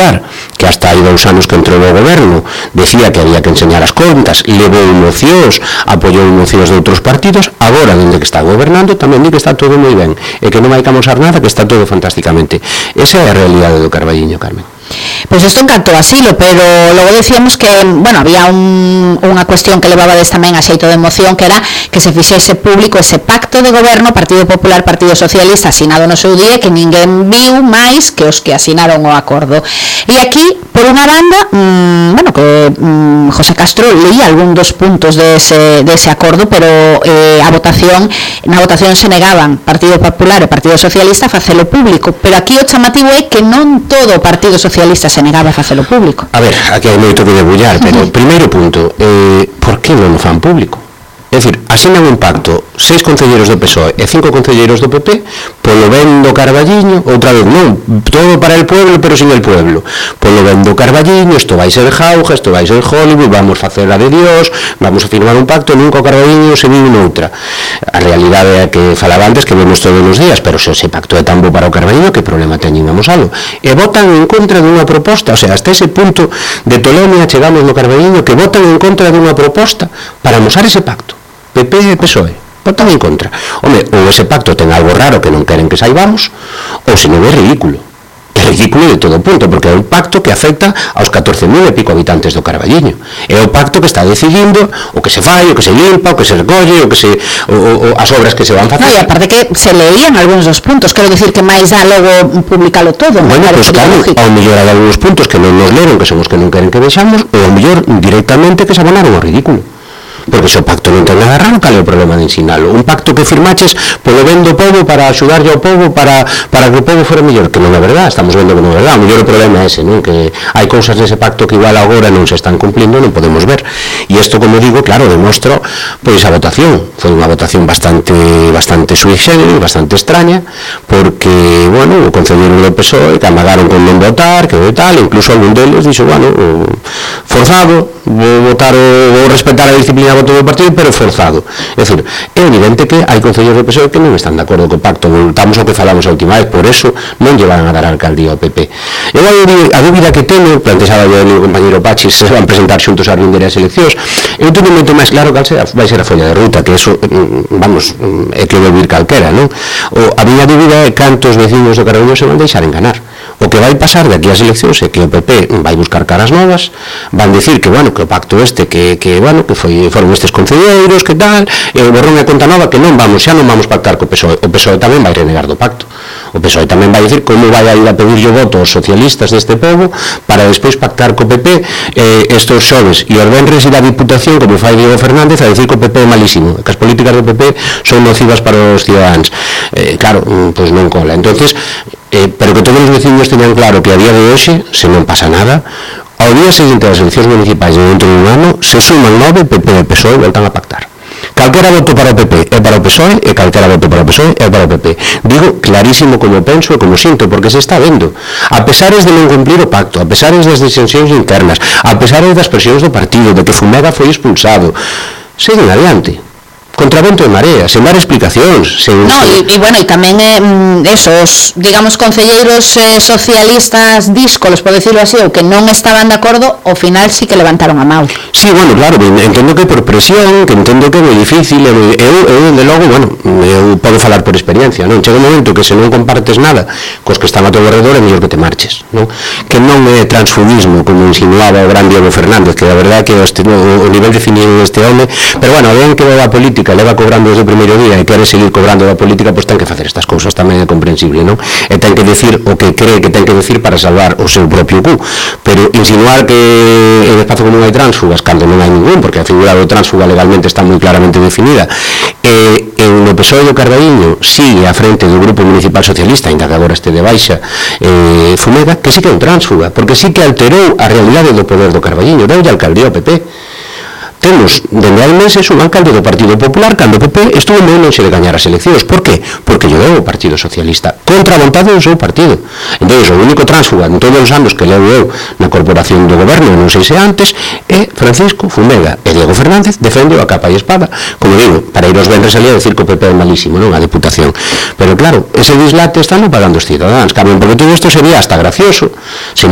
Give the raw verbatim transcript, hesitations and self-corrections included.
Popular, que hasta hai dous anos que entrou no goberno, decía que había que enseñar as contas, levou mocións, apoiou mocións de outros partidos, agora, dende que está gobernando, tamén di que está todo moi ben, e que non hai que amosar nada, que está todo fantásticamente. Esa é a realidade do Carballiño, Carmen. Pois pues isto en canto a asilo, pero logo decíamos que, bueno, había un, unha cuestión que levabades tamén a xeito de moción, que era que se fixese público ese pacto de goberno Partido Popular, Partido Socialista asinado no seu día, que ninguén viu máis que os que asinaron o acordo. E aquí, por unha banda, mmm, bueno, que mmm, José Castro leía algún dos puntos dese, dese acordo, pero eh, a votación, na votación se negaban Partido Popular e Partido Socialista a facelo público, pero aquí o chamativo é que non todo o Partido Socialista se negaba a facelo público. A ver, aquí hai moito que debullar, pero uh -huh. primeiro punto, eh, por que non o fan público? É dicir, asinan un pacto seis concelleiros do P S O E e cinco concelleiros do P P polo ben do Carballiño, outra vez non, todo para el pueblo pero sin el pueblo, polo ben do Carballiño, isto vai ser jauja, isto vai ser Hollywood, vamos facer a de Dios, vamos a firmar un pacto, nunca o Carballiño se vive noutra. A realidade é que falaba antes que vemos todos os días, pero se ese pacto é tan bo para o Carballiño, que problema teñen a mosalo? E votan en contra dunha proposta, o sea, hasta ese punto de tolemia chegamos no Carballiño, que votan en contra dunha proposta para amosar ese pacto. P P e P S O E, votan en contra. Home, ou ese pacto ten algo raro que non queren que saibamos, ou se non é ridículo. É ridículo de todo punto, porque é un pacto que afecta aos catorce mil e pico habitantes do Carballiño. É o pacto que está decidindo o que se fai, o que se limpa, o que se recolle, o que se o, o, as obras que se van facer. No, e aparte que se leían algúns dos puntos, quero dicir que máis dá logo publicalo todo. Bueno, pois pues, claro, ao mellor hai algúns puntos que non nos leron, que son os que non queren que vexamos, ou ao mellor directamente que se abonaron ao ridículo. Porque se o pacto non ten nada raro, cal é o problema de ensinalo? Un pacto que firmaches polo ben do povo para axudarlle ao povo para, para que o povo fora mellor, que non é verdad, estamos vendo que non é verdad. O mellor o problema é ese, non? Que hai cousas nese pacto que igual agora non se están cumplindo, non podemos ver. E isto, como digo, claro, demostro pois a votación. Foi unha votación bastante bastante sui generis, bastante extraña, porque, bueno, o concelleiro do P S O E que amagaron con non votar, que tal, incluso algún deles dixo, bueno, forzado, vou votar o, vou respetar a disciplina voto do partido, pero forzado. É dicir, é evidente que hai concelleiros do P S O E que non están de acordo co pacto, voltamos ao que falamos a última vez, por eso non lle van a dar a alcaldía ao P P. Eu a dúbida que teño, plantexaba yo o meu compañeiro Pachi, se van presentar xuntos a rinde as eleccións, eu teño moito máis claro cal será, vai ser a folla de ruta, que eso, vamos, é que o vir calquera, non? O, a miña dúbida é cantos veciños do Carballiño se van deixar enganar. O que vai pasar de aquí ás eleccións é que o P P vai buscar caras novas, van decir que, bueno, que o pacto este, que, que bueno, que foi, foron estes concelleiros, que tal, e o borrón e conta nova, que non vamos, xa non vamos pactar co P S O E. O P S O E tamén vai renegar do pacto. O P S O E tamén vai dicir como vai a ir a pedirlle o voto aos socialistas deste povo para despois pactar co P P eh, estos xoves e os venres ir a Diputación, como fai Diego Fernández, a dicir que o P P é malísimo, que as políticas do P P son nocivas para os ciudadanos. Eh, claro, pois non cola. Entonces, eh, pero que todos os veciños teñan claro que a día de hoxe, se non pasa nada, ao día seguinte das eleccións municipais de dentro de un ano, se suman nove, P P e P S O E voltan a pactar. Calquera voto para o P P é para o P S O E e calquera voto para o P S O E é para o P P. Digo clarísimo como penso e como sinto, porque se está vendo. A pesares de non cumplir o pacto, a pesares das disensións internas, a pesares das presións do partido, de que Fumega foi expulsado, seguen adiante. Contra vento e marea, sen dar explicacións, sen... No, e, e bueno, e tamén eh, esos, digamos, concelleiros eh, socialistas díscolos, por decirlo así, ou que non estaban de acordo, ao final sí que levantaron a mão. Sí, bueno, claro, entendo que por presión, que entendo que é moi difícil, eu, eu, de logo, bueno, eu podo falar por experiencia, non? Chega un momento que se non compartes nada cos que están a teu alrededor, é mellor que te marches, non? Que non é transfugismo, como insinuaba o gran Diego Fernández, que a verdade que este, o, o nivel definido deste home, pero bueno, ben que va a política, leva cobrando desde o primeiro día e quere seguir cobrando da política, pois ten que facer estas cousas, tamén é comprensible, non? E ten que decir o que cree que ten que decir para salvar o seu propio cu, pero insinuar que en espazo como non hai tránsfugas, cando non hai ningún, porque a figura do tránsfuga legalmente está moi claramente definida, e en o P S O E do Carballiño sigue a frente do Grupo Municipal Socialista, ainda que agora este de baixa eh, Fumega, que sí que é un tránsfuga, porque sí que alterou a realidade do poder do Carballiño, deulle a alcaldía ao P P. Temos, dende hai meses, un alcalde do Partido Popular cando o P P estuvo moi lonxe de gañar as eleccións. Por que? Porque lle deu o Partido Socialista contra a vontade do seu partido. Entón, o único tránsfuga en todos os anos que levo eu na corporación do goberno, non sei se antes, é Francisco Fumega, e Diego Fernández defende a capa e espada, como digo, para ir aos venres ali a decir que o P P é malísimo, non a Diputación. Pero claro, ese dislate están pagando os cidadáns, Carmen, porque todo isto sería hasta gracioso se non